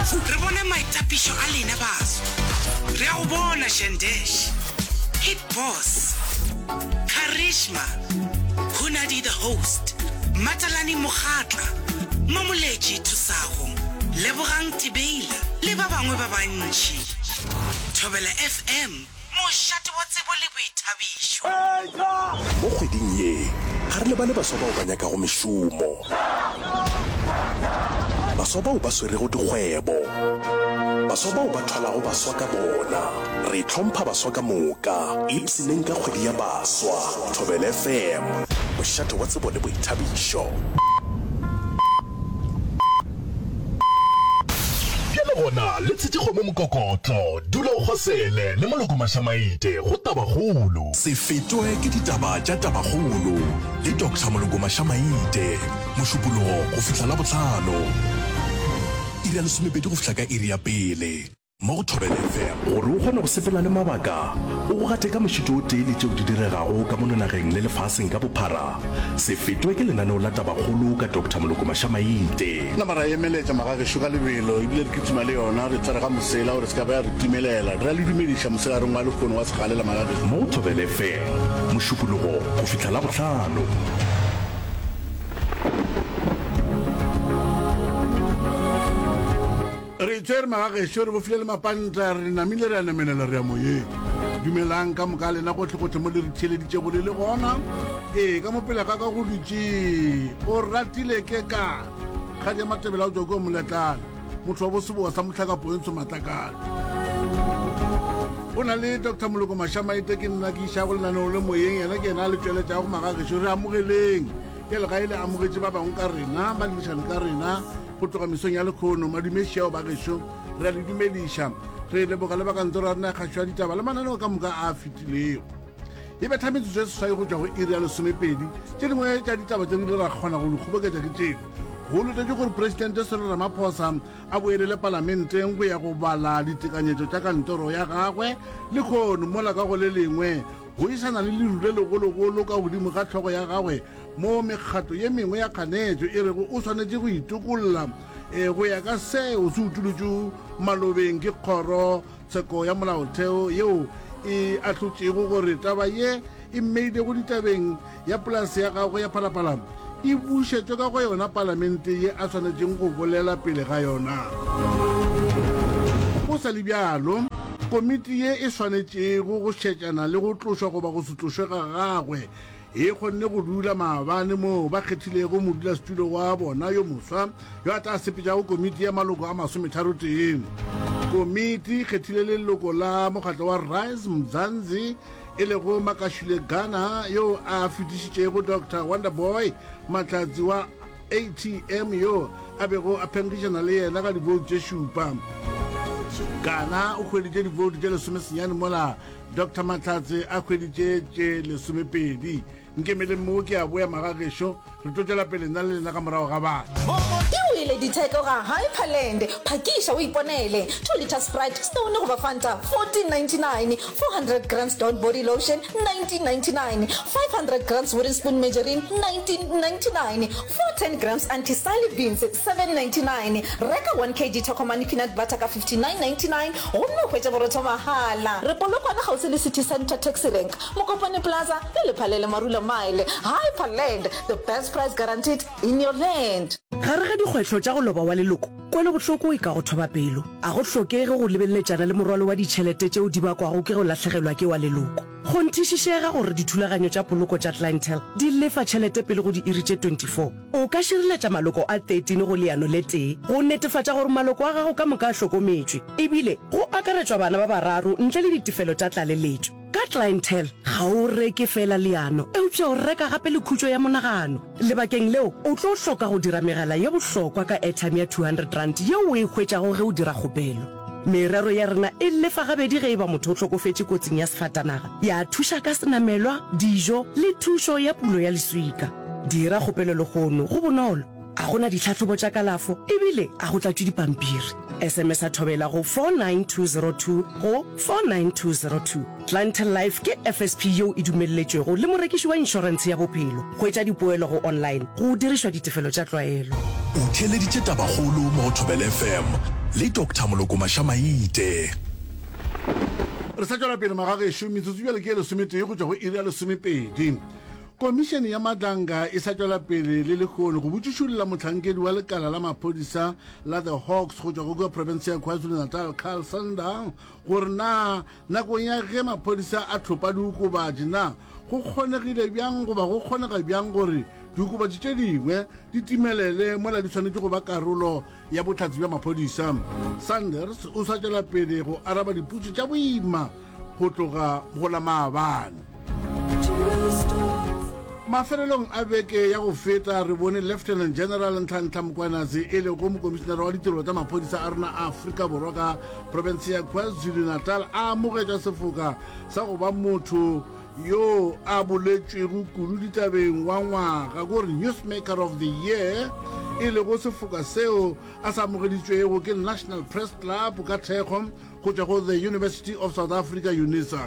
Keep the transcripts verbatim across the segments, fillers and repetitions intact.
Re bona maitapišo a lena baswa. Re a go bona Shandesh, Hit Boss, Charisma, Hunadi the Host, Matalane Mokgatla, Mamoletši Thusago, Lebogang Tebeila le ba bangwe ba bantši. Thobela F M, mošate wa tsebo le boithabišo. Mo kgweding ye, ga re lebale baswa bao ba nyakago mešomo, baswa bao ba swerego dikgwebo, baswa bao ba thwalago baswa ka bona. Re hlompha baswa ka moka. Ipshineng ka kgwedi ya baswa. Thobela F M, mošate wa tsebo le boithabišo. Bjale gona le tshetše kgomo mokokotlo, dula o kgosele le Moloko Mašamaite go Tabakgolo. Se fetwe ke ditaba tša Tabakgolo le Doctor Moloko Mašamaite, Mošupologo go fihla Labohlano, iri ya lesomepedi go fihla ka iri ya pele, mo go Thobela F M. Gore o kgone go sepela le mabaka, o go gate ka mošito o tee le tšeo di diregago ka mono nageng le lefaseng ka bophara, se fetwe ke lenaneo la Tabakgolo ka Doctor Moloko Mašamaite. Nama ra emeletša magagešo ka lebelo ebile re kitima le yona re tsware ga mosela gore se ka ba ya re timelela. Re a le dumediša mosegareng wa lehono wa segalela magagešo. Mo go Thobela F M, Mošupologo go fihla Labohlano. Re itshwere magagešo, re bofile le mapanta, re namile re a namelela re ya moyeng. Dumelang ka moka lena gohle-gohle mo le re theeleditšego le le gona. Ee, ka mo pele ga ka go dutše o ratile ke ka kgadi ya Matebele a go tšwa kua Moletlane, motho wa boseboa sa mohlakapo entsho matlakala. Go na le Doctor Moloko Mašamaite, ke nna ke išago lenaneo le moyeng, yena ke yena a le tšweletšago magagešo. Re amogeleng bjale ga e le amogetše ba bangwe ka rena, ba dirišane ka rena go tloga mesong ya lekgono. Madumeši ao ba gešo, re a le dumediša, re leboga le ba kantoro ya rena ya kgašo ya ditaba le mananeo ka moka a fetilego. E betha metsotso e seswai go tšwa go iri ya lesomepedi. Tše dingwe tša ditaba tše di ile ra kgona go di kgoboketša ke tšeo: go letetše gore Presidente Cyril Ramaphosa a boelele palamenteng go ya go bala ditekanyetšo tša kantoro ya gagwe lekgono, mola ka go le lengwe go isana le leru le legologolo ka godimo ga hlogo ya gagwe mo mekgatlo ye mengwe ya kganetšo e rego o swanetše go itokolla go ya ka seo se utolotšwe malobeng ke kgoro tsheko ya molaotheo yeo e ahlotšego gore taba ye e mmeilego ditabeng ya polase ya gagwe ya Phalaphala e bušetšwe ka go yona palamente ye a swanetšeng go bolela pele ga yona. Go sa le bjalo, komiti ye e swanetšego go šetšana le go tlošwa goba go se tlošwe ga gagwe e kgonne go dula maabane moo ba kgethilego modulasetulo wa bona yo moswa yo a tla sepetšago komiti ya maloko a masometharotee. Komiti e kgethile leloko la mokgatlo wa Rise Mzansi e lego Makashule Gana yo a fetišitšego Doctor Wonderboy Mahlatsi wa A T M yo a bego a phenkgišana le yena ka diboutu tše šupa. Gana o hweditše diboutu tše lesomesenyane mola Doctor Mahlatsi a hweditše tše lesomepedi. Nkemeleng mo ke a boya magagešo, re tlo tšwela pele nna le lena ka morago ga batho. Ke wele ditheko ga Hyperland. Phakiša o iponele. two litre Sprite, Stone goba Fanta, fourteen ninety-nine. four hundred grams Dawn body lotion, nineteen ninety-nine. five hundred grams Wooden Spoon margarine, nineteen ninety-nine. four hundred ten grams Anti-Sally beans, seven ninety-nine. Reka one kilogram Tokomane peanut butter ka fifty-nine ninety-nine gomme o hwetše borotho mahala. Re Polokwane kgauswi le City Centre Taxi Rank, Mokopane Plaza le Lephalele Marula Mile. Hyperland, the best price guaranteed in your land. Gare ga dikgwetlho tša go loba wa leloko, kwelobohloko e ka go thoba pelo. A go hlokege go lebeletšana le morwalo wa ditšhelete tšeo di bakwago ke go lahlegelwa ke wa leloko. Kgonthišišega gore dithulaganyo tša poloko tša Clientele di lefa tšhelete pele go diiri tše twenty-four. O ka šireletša maloko a thirteen go leano le tee go netefatša gore maloko a gago ka moka a hlokometšwe, ebile go akaretšwa bana ba bararo ntle le ditefelo tša tlaleletšo. Ka Clientele ga o reke fela leano, eupša o reka gape le khutšo ya monagano. Lebakeng leo o tlo hloka go dira megala ye bohlokwa ka airtime ya two hundred rand yeo o e hwetšago ge o dira kgopelo. Merero ya rena e lefa gabedi ge e ba motho o hlokofetše kotsing ya sefatanaga, ya thuša ka senamelwa, dijo le thušo ya pulo ya leswika. Dira kgopelo lehono, go bonolo, a gona ditlhahlobo tša kalafo ebile a go tlatšwe dipampiri. S M S a Thobela go four nine two zero two go four nine two zero two. Clientele Life ke F S P yeo e dumelletšwego le morekiši wa inšorentshe ya bophelo. Hwetša dipoelo go online go dirišwa ditefelo tša tlwaelo. O theeleditše Tabakgolo mo go Thobela F M le Doctor Moloko Mašamaite. Re sa tšwela pele magagešo, metsotso bjale ke ye lesometee go tšwa go iri ya lesomepedi. Komišene ya Madlanga e sa tšwela pele le lehono go botšišolla mohlankedi wa lekala la maphodisa la The Hawks go tšwa go kua profense ya KwaZulu-Natal Carl Sander gore na nakong ya ge maphodisa a thopa diokobatši na go kgonegile bjang goba go kgonega bjang gore diokobatši tše dingwe di timelele mola di swanetše go ba karolo ya bohlatse bja maphodisa. Sanders o sa tšwela pele go araba dipotšo tša boima go tloga go la maabane. Mafelelong a beke ya go feta re bone Lieutenant General Nhlanhla Mkhwanazi e lego mokomišenare wa ditirelo tša maphodisa a rena a Afrika Borwa ka profense ya KwaZulu-Natal a amogetša sefoka sa go ba motho yo a boletšwego kudu ditabeng wa ngwaga ko re Newsmaker of the Year, e lego sefoka seo a sa amogeditšwego ke National Press Club ka thekgo go tšwa go The University of South Africa, UNISA.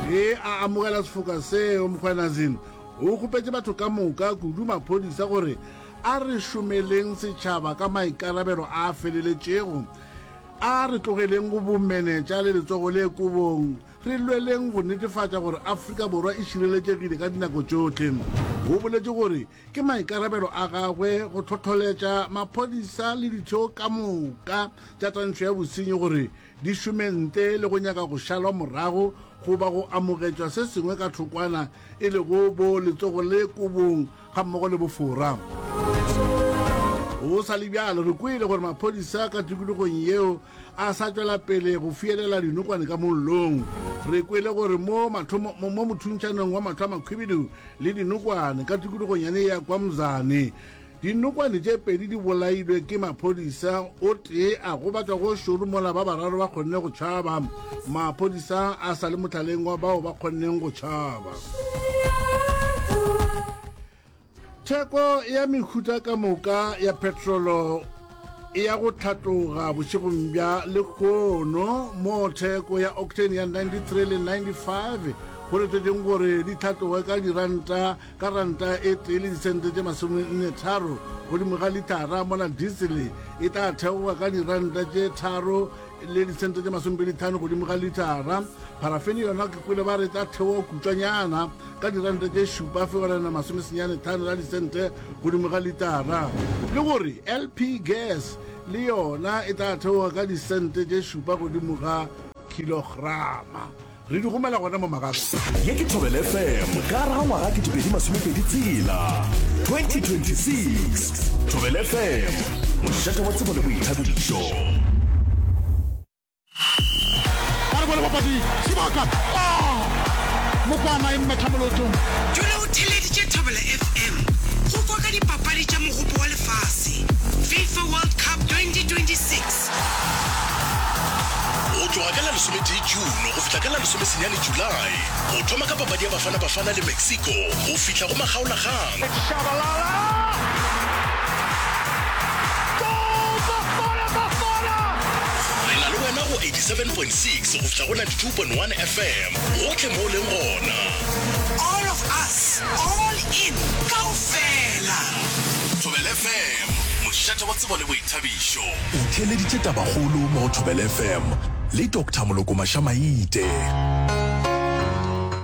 Ge a amogela sefoka seo, Mkhwanazi o kgopetše batho ka moka, kudu maphodisa, gore a re šomeleng setšhaba ka maikarabelo a feleletšego, a re tlogeleng go bomenetša le letsogo le kobong, re lweleng go netefatša gore Afrika Borwa e šireletšegile ka dinako tšohle. O boletše gore ke maikarabelo a gagwe go hlohloletša maphodisa le ditheo ka moka tša twantšho ya bosenyi gore di šome ntle le go nyaka go šalwa morago goba go amogetšwa se sengwe ka thokwana, e lego bo letsogo le kobong gammogo le bofora. Go sa le bjalo, re kwele gore maphodisa ka tikologong yeo a sa tšwela pele go fielela dinokwane ka mollong. Re kwele gore mo mathomo mo mothuntšanong wa mahlo a makhwibidu le dinokwane ka tikologong yane ya KwaMzane, dinokwane tše pedi di bolailwe ke maphodisa, o tee a gobatšwa go šoro mola ba bararo ba kgonne go tšhaba. Maphodisa a sa le mohlaleng wa bao ba kgonneng go tšhaba. Theko ya mehuta ka moka ya petrolo e ya go tlhatloga bošegong bja lehono, mo theko ya octane ya ninety-three le ninety-five go letetšeng gore di tlhatloge ka diranta ka ranta e tee le disente tše masomenne tharo godimo ga litara, mola diesel e tla theoga ka diranta tše tharo le disente tše masomepedi tlhano godimo ga litara. Parafene yona ke kwele ba re tla theoga kutšwanyana ka diranta tše šupa fegelwana masomesenyane tlhano la disente godimo ga litara, le gore L P gas le yona e tla theoga ka disente tše šupa godimo ga kilograma. Re di gomela gona mo magare. Ye ke Thobela F M ka gare ga ngwaga ketepedi masomepedi tshela twenty twenty-six. Thobela F M, mošate wa tsebo le boithabišo. Ba re bone bapadi sebaka mokwana e mmetha molotong. Dula o theeleditše Thobela F M go kwa ka dipapadi tša Mogopo wa Lefase, FIFA World Cup twenty twenty-six. Go tloga ka la lesometee June go fihla ka la lesomesenyane July, go thoma ka papadi ya Bafana Bafana le Mexico go fihla go makgaolakgang. Shabalala! Goal! Bafana Bafana! Re na le wena go eighty-seven point six go fihla go ninety-two point one F M gohle mo o leng gona. All of us, all in, kaofela. Thobela F M, mošate wa tsebo le boithabišo. O theeleditše Tabakgolo mo go Thobela F M le Doctor Moloko Mašamaite.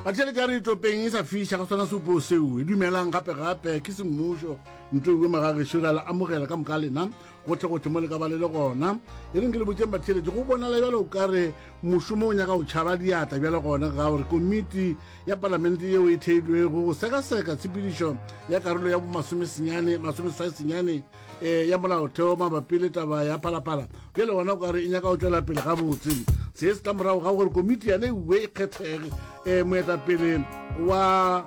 Batheeletši, a re topeng e sa fiša ka sona seopo seo e dumelang gape-gape ke semmušo ntlo magagešo. Re a le amogela ka moka lena gotlhe-gotlhe mo le ka ba le le gona. E reng ke le botseng batheeletši, go bonala bjalo o ka re mošomo o nyaka go tšhaba diatla bjale gona ga gore komiti ya palamente yeo e theilwego go sekaseka tshepedišo ya karolo ya bomasomesenyane masomeseswai senyane um ya molaotheo mabapi le taba ya Phalaphala bjale gona o ka re e nyaka go tšwela pele gabotse. Se se tla morago ga gore komiti yane ewe e kgethege um moetapele wa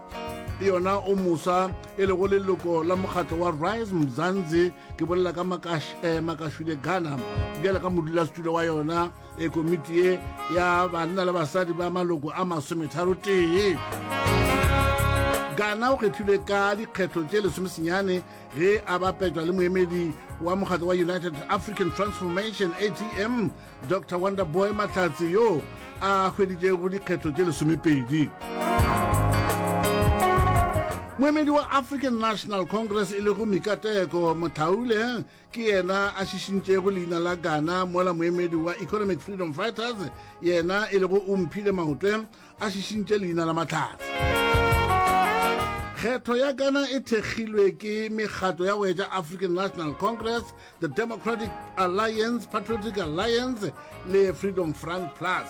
yona o mosa e lego leloko la mokgatlo wa Rise Mzansi, ke bolela ka Makash, eh, Makashule Ghana, bjale ka modulasetulo wa yona e komiti ye ya banna le basadi ba maloko a masometharo tee. Ghana o kgethilwe ka dikgetho tše lesomesenyane ge a bapetšwa le moemedi wa mokgatlo wa United African Transformation, A T M, Doctor Wonderboy Mahlatse yo a hweditšego dikgetho tše lesomepedi. Moemedi wa African National Congress e lego Mikateko Mothaule ke yena a šišintšego leina la Ghana, mola moemedi wa Economic Freedom Fighters yena e lego Omphile Maotwe a šišintše leina la Mahlatse. Kgetho ya Ghana e thekgilwe ke mekgatlo ya go etša African National Congress, the Democratic Alliance, Patriotic Alliance le Freedom Front Plus.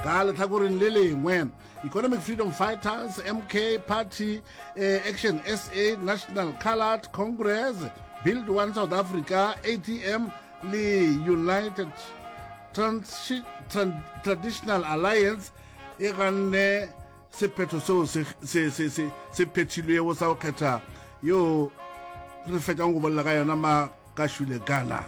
Ka lehlakoreng le lengwe, Economic Freedom Fighters, M K Party, eh, Action S A, National Coloured Congress, Build One South Africa, A T M le United Trans-, Tran-, Traditional Alliance e ganne sephetho seo se, se, se, se, se phethilwego sa go kgetha yo re fetšang go bolela ka yona Makashule Ghana.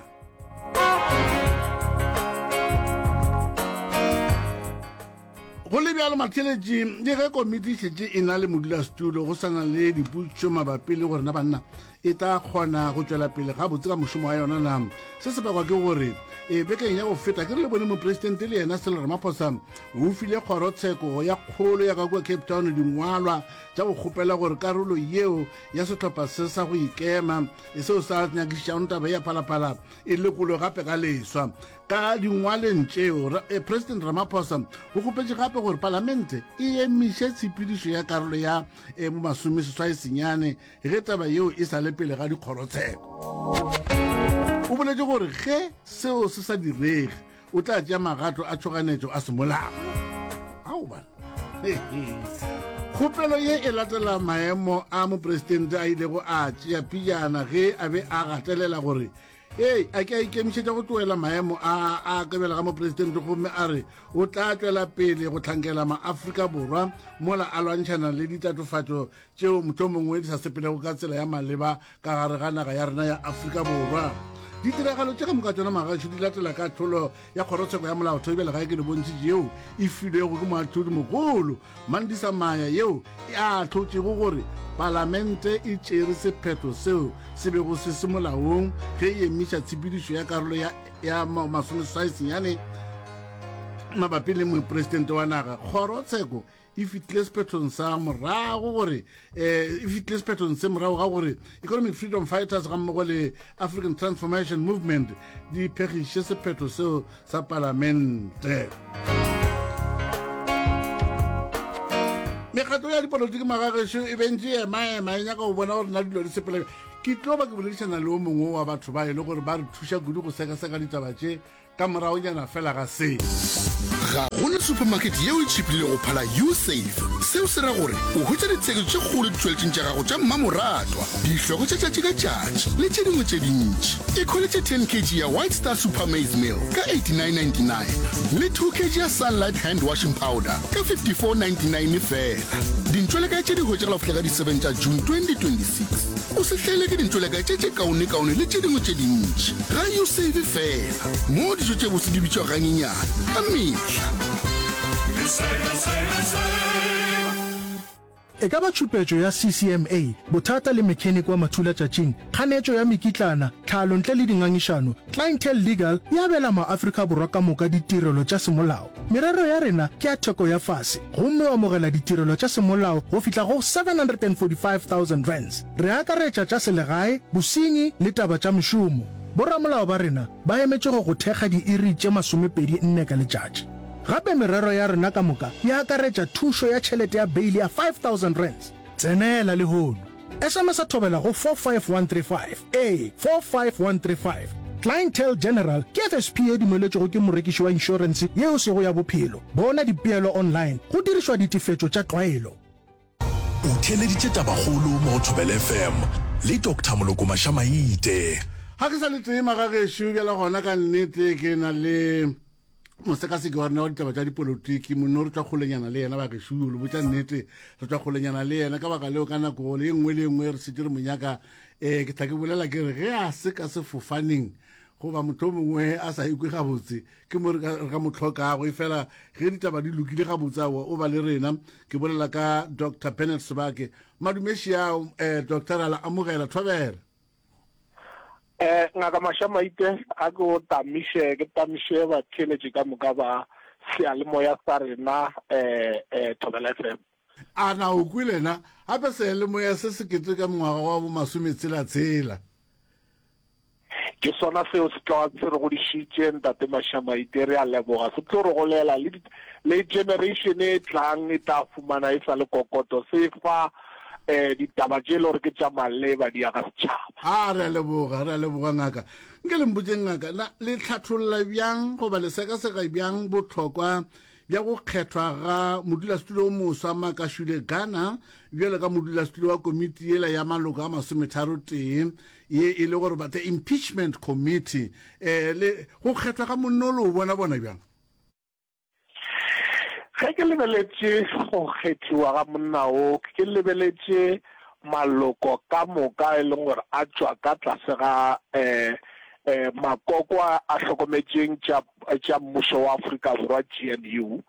Go le bjalo matheletši, le ge komiti e šetše e na le modulasetulo, go sa na le dipotšišo mabapi le gore na banna e tla kgona go tšwela pele gabotse ka mošomo wa yona na. Se se bakwa ke gore e bekeng ya go feta ke re le bone mopresidente le yena Cyril Ramaphosa o file kgorotsheko ya kgolo ya ka kua Cape Town dingwalwa tša go kgopela gore karolo yeo ya sehlopha se sa go ikema e seo sa nyakišišago taba ya Phalaphala e lekolwe gape ka leswa. Ka dingwaleng tšeo, President Ramaphosa o kgopetše gape gore palamente e emiše tshepedišo ya karolo ya bomasomeseswai senyane ge taba yeo e sa le pele ga dikgorotsheko. O boletše gore ge seo se sa direge, o tla tšea magato a tšhoganetšo a semolao. Ao bana. Kgopelo ye e latela maemo a mopresidente a ilego a tšea pejana ge a be a gatelela gore Ee, a ke a ikemišetša go tlohela maemo a a kabela ga mopresidente gomme a re o tla tšwela pele go hlankela maAfrika Borwa mola a lwantšhana le ditatofatšo tšeo mohlomongwe di sa sepelego ka tsela ya maleba ka gare ga naga ya rena ya Afrika Borwa. Ditiragalo tše ka moka tšona magaešo di latela kahlolo ya kgorotsheko ya molaotheo bjale ga ke le bontšhitše yeo e filwego ke moahlodi mogolo Mandisa Maya yeo e ahlotšego gore palamente e tšere sephetho seo se bego se se molaong ge e emiša tshepedišo ya karolo ya, ya masomeseswai senyane mabapi le mopresidente wa naga. Kgorotsheko e fihlile sephethong sa morago gore eh, e fihlile sephethong se morago ga gore Economic Freedom Fighters gammogo le African Transformation Movement di phegiše sephetho seo sa palamente. Mekgatlo ya dipolotiki magagešo e bentše e ema-ema e nyaka go bona gore na dilo di sepela. Ke tlo ba ke boledišana le o mongwe wa batho ba e le gore ba re thuša kudu go sekaseka ditaba tše ka moragonyana fela ga se. Ga go na supermarket yeo e tšhipilego go phala U-Save. Seo se ra gore o hwetša ditsheketšo tše kgolo ditšweletšing tša gago tša mmamoratwa, dihloko tša tšatši ka tšatši le tše dingwe tše dintši. Ikhweletše ten kg ya White Star Super Maize Meal ka eighty-nine ninety-nine le two kg ya Sunlight Hand Washing Powder ka fifty-four ninety-nine feela. Dintšwelekae tše di hwetšagala go fihla ka di seven tša June twenty twenty-six. O se hlaelwe ke dintšwelekae tše tše kaonekaone le tše dingwe tše dintši ga U-Save feela, moo dijo tše bose di bitšwago ganyenyane ka mehla. E ka ba tšhupetšo ya C C M A, bothata le mechanic wa mathulatšatšing, kganetšo ya mekitlana, tlhalo ntle le dingangišano, Clientele Legal e abela maAfrika Borwa ka moka ditirelo tša semolao. Merero ya rena ke ya theko ya fase gomme o amogela ditirelo tša semolao go fihla go seven hundred and forty five thousand rands. Re akaretša tša selegae, bosenyi le taba tša mešomo. Boramolao ba rena ba emetše go go thekga diiri tše masomepedi nne ka letšatši. Gape merero ya rena ka moka e akaretša thušo ya tšhelete ya beile ya five thousand rands. Tsenela lehono. S M S a thobela go four five one three five. Ee, four five one three five. Clientele General ke F S P ye dumeletšwego ke morekiši wa inšorense yeo sego ya bophelo. Bona dipeelo online go dirišwa ditefetšo tša tlwaelo. O theeleditše Tabakgolo mo go Thobela F M le Doctor Moloko Mašamaite. Ga ke sa le tee magagešo bjale gona ka nnete ke na le mosekaseki wa rena wa ditaba tša dipolotiki monno re tšwa kgolenyana le yena bagešo le botša nnete re tšwa kgolenyana le yena ka baka leo ka nako le e nngwe le e nngwe re šetše re mo nyaka. Um ke tla ke bolela ke re ge a se ka sefofaneng goba motho mongwe a sa ikwe gabotse ke mo re ka mo tlhokago, efela ge ditaba di lokile gabotse aowa o ba le rena. Ke bolela ka Doctor Bernard Sebake. Madumeši ao um Doctor a la amogela thobela. Eh, Ngaka Mašamaite, a ke o tamiše, ke tamiše batheeletši ka moka ba seyalemoya sa rena, eh, eh, Thobela F M. A na o kwele na? Gape seyalemoya se se keteka mongwaga wa bo masometshela-tshela. Ke sona seo se tloga se re godišitše, Ntate Mashamaite, re a leboga. Se tlo re golela le, le generation e tlang e tla fumana e sa le kokoto se fa um ditaba tše e le gore ke tša maleba di aga setšhaba. A re a leboga, re a leboga ngaka. Nke le mpotšeng ngaka, na le hlatholla bjang goba le sekaseka bjang bohlokwa bja go kgethwa ga modulasetulo o moswa Makashule Gana bjalo ka modulasetulo wa komiti yela ya maloko a masometharo tee ye e le gore ba the impeachment committee eh, le go kgethwa ga monnolo o bona bona bjang? Ge ke lebeletše go kgethiwa ga monna wo, ke lebeletše maloko ka moka e leng gore a tšwa ka tlase ga um um makoko a a hlokometšeng tša tša mmušo wa Afrika Borwa, G N U.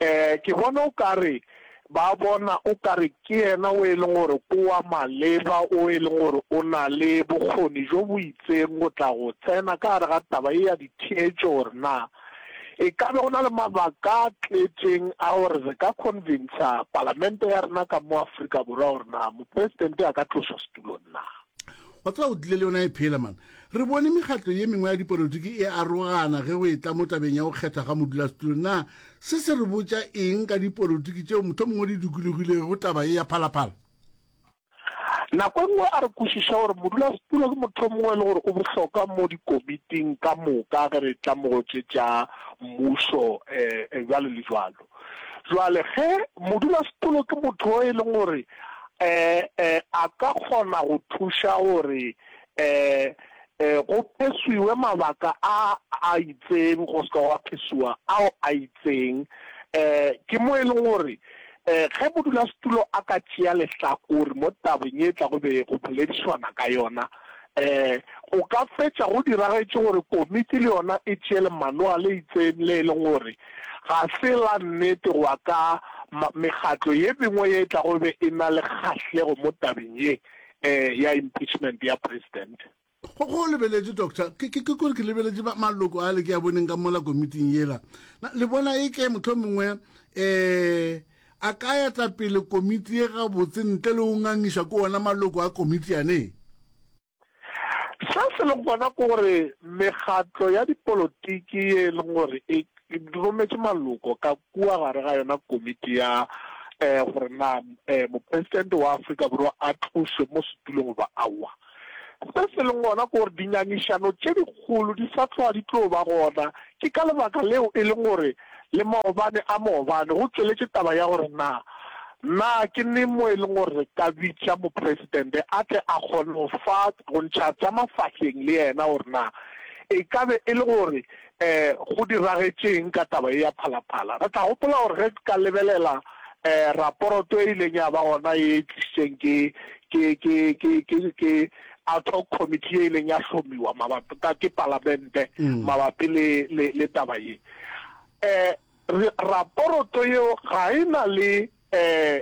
Um ke bona o ka re ba bona o ka re ke yena o e leng gore ke wa maleba, o e leng gore o na le bokgoni bjo bo itseng go tla go tsena ka gare ga taba ye ya ditheetšo gore na e ka be go na le mabaka a tletšeng a gore re ka convincer palamente ya rena ka mo Afrika Borwa gore na mopresidente a ka tlošwa setulong na. Wa tseba o tlile le yona e phela man. Re bone mekgatlo ye mengwe ya dipolotiki e arogana ge go etla mo tabeng ya go kgethwa ga modulasetulo. Na se se re botša eng ka dipolotiki tšeo mohlomongwe di dikologilego taba ye ya Phalaphala? Nako e nngwe a re kwešiša gore modulasetulo ke motho o mongwe e le gore o bohlokwa mo dikomiting ka moka ge re tla mo go tše tša mmušo um bjalo le bjalo. Jwale ge modulasetulo ke motho o e leng gore um um a ka kgona go thuša gore um um go pheswiwe mabaka a a itseng go se ka gwa pheswiwa ao a itseng, um ke mo e leng gore um ge modulasetulo a ka tšea lehlakore mo tabeng ye tla go be go boledišwana ka yona, um go ka fetša go diragetše gore komiti le yona e tšee lemanoa le itseng le e leng gore ga se la nnete go ya ka mekgatlo ye mengwe ye e tlago be e na le kgahlego mo tabeng ye um ya impeachment ya president. Go, go lebeletše, Doctor, ke, ke, ke kore ke lebeletše ba, maloko ale ke a boneng ka mola komiting yela. Na le bona e ke mohlomongwe um a ka eta pele komiti ye gabotse ntle le go ngangišwa ke ona maloko a komiti yane? Se se leng gona ke gore mekgatlo ya dipolotiki ye e leng gore e rometše maloko ka kua gare ga yona komiti ya um gore na um mopresidente wa Afrika Borwa a tlošwe mo setulong goba aowa. Se se leng gona ke gore dingangišano tše dikgolo di sa tloga di tlo ba gona. Ke ka lebaka leo e leng gore le maobane a maobane go tšweletše taba ya gore na na ke neng mo e leng gore re ka bitša mopresidente a tle a kgone go fa go ntšha tša mafahleng le yena gore na e ka be e le gore um go diragetšeng ka taba ye ya Phalaphala. Re tla gopola gore ge ka lebelela um raporoto e ileng ya ba gona ye e tlišitšeng ke ke ke ke ke ke ad hoc committee ye ileng ya hlomiwa mabapi ka ke palamente mabapi le le le taba ye, um raporoto yeo ga e na le um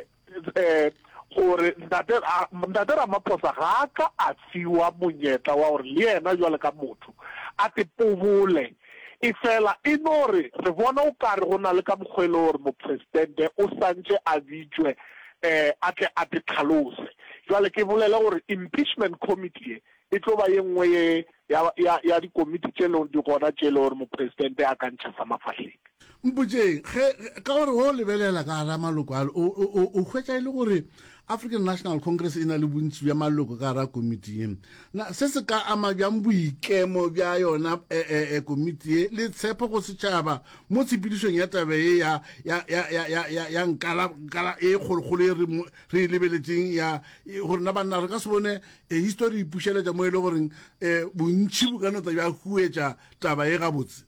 um gore ntate ntate Ramaphosa ga a ka a fiwa monyetla wa gore le yena jwale ka motho a te pobole, efela e no re re bona o kare go na le ka mokgwa e le gore mopresidente o santše a bitšwe um a tle a te tlhalose. Jwale ke bolele gore impeachment committee ye e tlo ba ye nngwe ye ya ya ya dikomiti tše lego di gona tše le gore mopresidente a ka ntšha sa mafahleng. Mpotšeng, ge, ka gore ge o lebelela ka gara maloko ale, o, o, o, o hwetša e le gore African National Congress e na le bontši bja maloko ka gara komiti ye. Na se se ka ama bjang boikemo bja yona e, e, e, komiti ye le tshepo go setšhaba mo tshepedišong ya taba ye ya, ya, ya, ya, ya, ya, ya nkala, nkala e kgolokgolo ye re, re e lebeletšeng ya gore na banna re ka se bone e, histori e ipušeletša mo e le goreng e, bontši bo ka no tla bja huetša taba ye gabotse?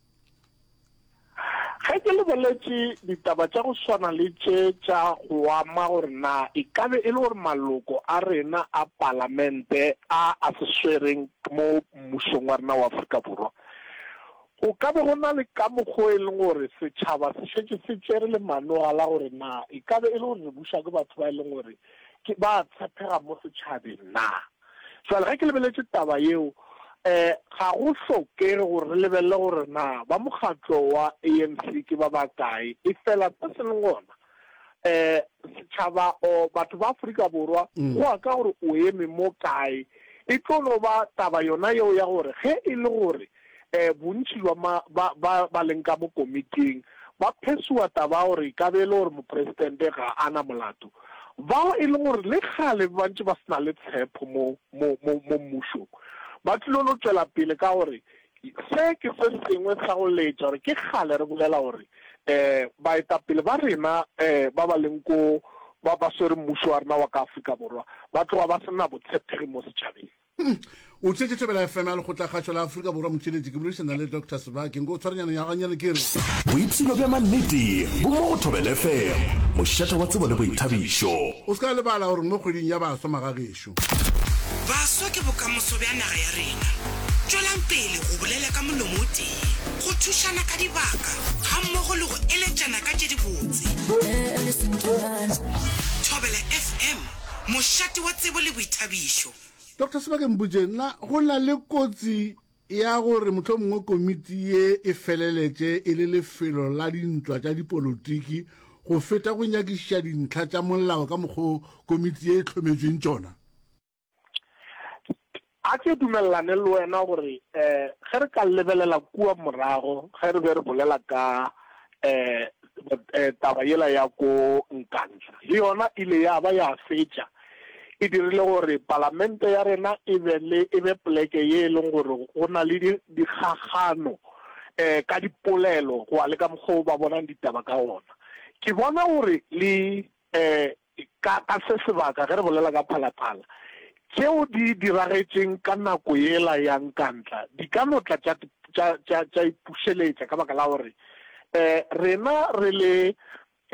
Ge ke lebeletše ditaba tša go swana le tše tša go ama gore na e ka be e le gore maloko a rena a palamente a a se swereng mo mmušong wa rena wa Afrika Borwa, go ka be go na le ka mokgwa o e leng gore setšhaba se šetše se tšere lemanoga la gore na e ka be e le gore re buša ke batho ba e leng gore ke ba tshepega mo setšhabeng na. Jwale ge ke lebeletše taba yeo, um ga go hlokege gore re lebelele gore na ba mokgatlo wa A N C ke ba bakae, efela se se leng gona, um setšhaba or batho ba Afrika Borwa go ya ka gore o eme mo kae. E tlo no ba taba yona yeo ya gore ge e le gore um bontši bja ma, ba, ba ba leng ka mo komiting ba phesiwa taba ya gore e ka be e le gore mopresidente ga a na molato, bao e leng gore le kgale ba ntše ba se na le tshepo mo, mo, mo, mo mmušong, ba tlilo no tšwela pele ka gore se ke se sengwe sa go letša gore ke kgale re bolela gore um baetapele ba rena um ba ba leng ko, ba ba swere mmušo wa rena wa ka Afrika Borwa, ba tloga ba se na botshepegi mo setšhabeng. O theetše Thobela F M ya Lekgotlakgašo la Afrika Borwa. Motšheletši, ke boledišana le Doctor Sebake. Nko o tshwarenyana ya ganyane ke re. Boipshino bja mannete bo mo go Thobela F M, mošate wa tsebo le boithabišo. O se ka lebala gore mo kgweding ya baswa magagešo. Baswa ke bokamoso bja naga ya rena. Tšwelang pele go bolela ka molomo o tee, go thušana ka dibaka gammogo le go eletšana ka tše dibotse. Thobela F M, mošate wa tsebo le boithabišo. Doctor Sebake, mpotše, na go na le kotsi ya gore mohlomongwe komiti ye e feleletše e le lefelo la dintwa tša dipolotiki go feta go nyakišiša dintlha tša molao ka mokgwa o komiti ye e hlometšweng tšona? A ke dumelelane le wena gore um ge re ka lebelela kua morago ge re be re bolela ka um taba yela ya ko Nkandla, le yona ile ya ba ya fetša e dirile gore palamente ya rena e be le, e be poleke ye e leng gore go na le di, dikgakgano um ka dipolelo go ya le ka mokgwa o ba bonang ditaba ka gona. Ke bona gore le um ka, ka se sebaka ge re bolela ka Phalaphala, tšeo di diragetšeng ka nako yela ya Nkandla di ka no tla tša, tša, tša, tša ipušeletša ka baka la gore um rena re le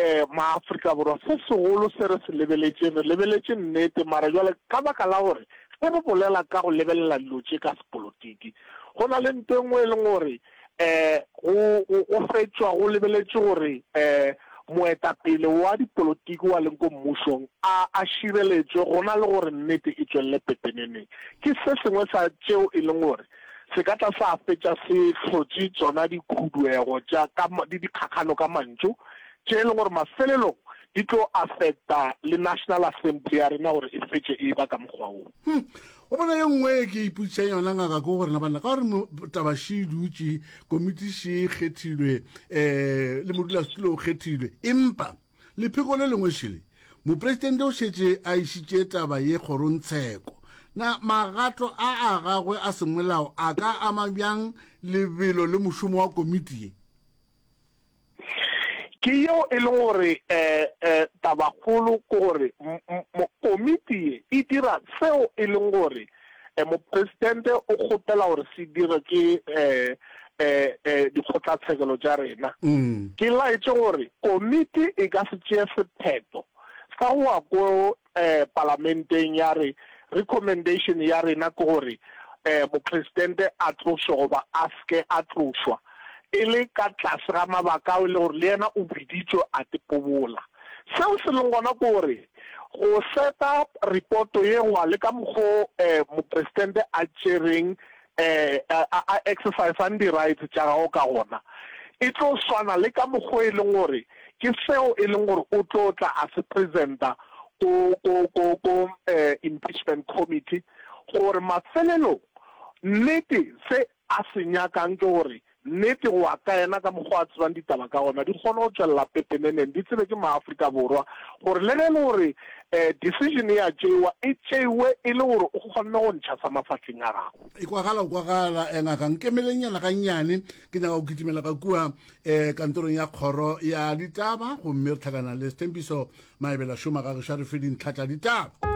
um maAfrika Borwa se segolo se re se lebeletšeng, re lebeletše nnete, mara jwale ka baka la gore ge re bolela ka go lebelela dilo tše ka sepolotiki, go na le nto e nngwe e leng gore um go, go, go fetšwa go lebeletše gore um moetapele wa dipolotiki wa leng ko mmušong a, a šireletšwe gona le gore nnete e tšwelele pepeneneng. Ke se sengwe sa tšeo e leng gore se ka tla sa fetša se hlotše tšona dikhuduego tša ka, le dikgakgano ka mantšu tše e leng gore mafelelong di tlo affecta le National Assembly ya rena gore e fetše e ba ka mokgwa wo. Hmm. O bona ye nngwe e ke ipotšišang yona ngaka ke gore na banna ka gore mo-, taba še e dutše, komiti še e kgethilwe, eh, le modulasetulo o kgethilwe, empa lepheko le lengwe šele mopresidente o šetše a išitše taba ye kgorongtsheko. Na magato a a gagwe a semolao a ka ama bjang lebelo le mošomo wa komiti ye? Ke yeo e leng gore, eh, eh, tabakgolo ke gore m-, m-, m-, komiti ye e dira seo e leng gore, eh, mopresidente o kgopela gore se dirwe ke, eh, eh, eh, dikgotlatshekelo tša rena. Mm. Ke laetše gore komiti e ka se tšee sephetho sa go ya ko, eh, palamenteng ya re recommendation ya rena ke gore, eh, mopresidente a tlošwe goba a se ke a tlošwa, e le ka tlase ga mabaka ao e le gore le yena o biditšwe a tepobola. Seo se leng gona ke gore go seta reporto ye goba le ka mokgo, eh, mopresidente a tšereng, eh, a, a, a exercisang di-rights tša gagwe ka gona, e tlo swana le ka mokgo e leng gore ke seo e leng gore o tlo tla a se presenta ko, ko, ko, ko, eh, impeachment committee, gore mafelelong nnete se a se nyakang ke gore nnete go ya ka yena ka mokgwa a tsebang ditaba ka gona di kgone go tšwelela pepeneneng, di tsebe ke maAfrika Borwa gore le ge e le gore, eh, decision ya tšeiwa, e tšeiwe e le gore o kgonne go ntšha sa mafahleng a gago. E kwagala, o kwagala, eh, ngaka, nkemelenyana gannyane, ke nyaka go kitimela ka kua, eh, kantorong ya kgoro ya ditaba, gomme re hlakana le Sethembiso Maebela Šoma ga gešo a re fe dintlha tša ditaba.